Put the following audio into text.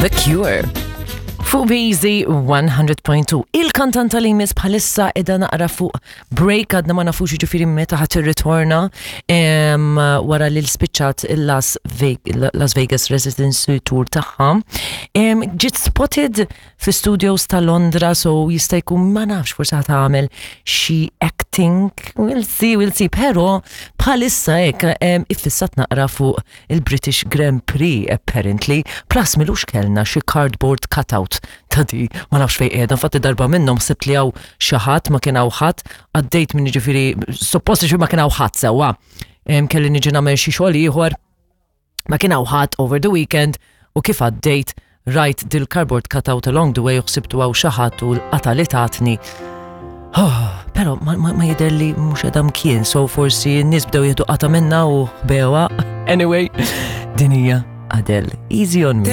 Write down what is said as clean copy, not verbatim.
The Cure. Fuq Beezy 100.2. Il-kantanta li jmiss bħalissa edha naqra fuq break għadna ma nafux ġifiri meta ħat irritorna wara li l-spiċċat il-Las Las Vegas Residency Tour tagħha. Ġiet spotted fi studios ta' Londra, so jista' jkun ma nafx forsi ħa tagħmel xi acting, we'll see, we'll see, però bħalissa hekk iffissat naqra fuq il-British Grand Prix apparently, plus milux kellna xi cardboard cutout ta' di, ma nafx fejn qiegħda, infatti darba minnhom ħsibt li hawn xi ħadd ma kien hawn ħadd, għaddejt minn jiġifieri suppost ma kien hawn ħadd sewwa. Kelli niġi nagħmel xi xogħol ieħor ma kien hawn ħadd over the weekend u kif għaddejt rajt dil-cardboard cutout along the way u ħsibtu hawn xi ħadd u l-qata li tatni. Oh, pero ma, ma, ma jidher li mhux qiegħda mkien, so forsi n-nies bdew jieħdu qata minna u bewa. Anyway, din hija Adele. Easy on me.